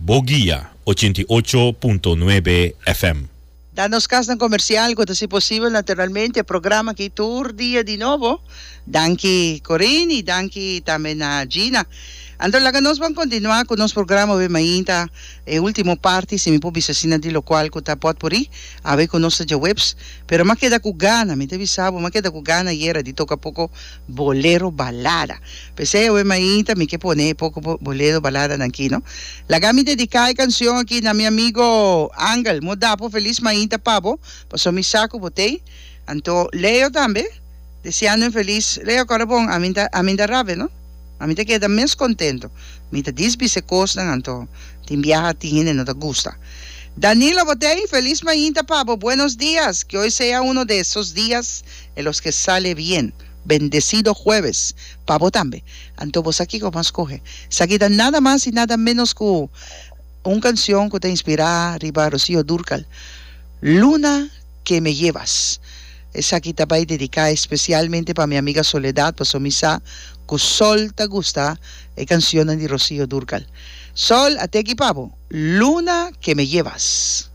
Bo Guia 88.9 FM. Da nos kasnan komersial ku ta hasi posibel naturalmente e programa aki tur dia di nobo. Danki Corine i danki tambe na Gina. Anto laga nos ban kontinuá ku nos programa awe mainta, e último parti si mi por bisa asina di lokual ku ta pòtpuri awe ku nos ta djaweps. Pero m'a keda ku gana, mi ta bisa bo, m'a keda ku gana ayera di toka poko bolero balada. P'esei awe mainta mi ke pone e poko bolero baladanan aki no. Laga mi dediká e kanshon aki na mi amigo Angel. Mo da bo felis mainta pa bo, pasobra mi sa ku bo t'ei. Anto Leo tambe, deseando un felis. Leo kòrda bon, ami ta ami ta rabia no. Ami ta keda mes kontento. Mi ta disbisa e kosnan anto tin biaha tin hende no ta gusta. Danilo bo t'ei? Felis mainta pa bo. Buenos dias. Que hoy sea uno de esos dias en los que sale bien. Bendecido jueves pa bo tambe. Anto bo sa kico mas scoge. Esaki ta nada mas y nada menos cu un cancion cu ta inspira riba Rocío Dúrcal, Luna que me llevas. Esaki ta bay dedica especialmente pa mi amiga Soledad pasobra mi sa cu Sol ta gusta e cancionnan di Rocío Dúrcal. Sol, a teki pa bo, Luna que me llevas.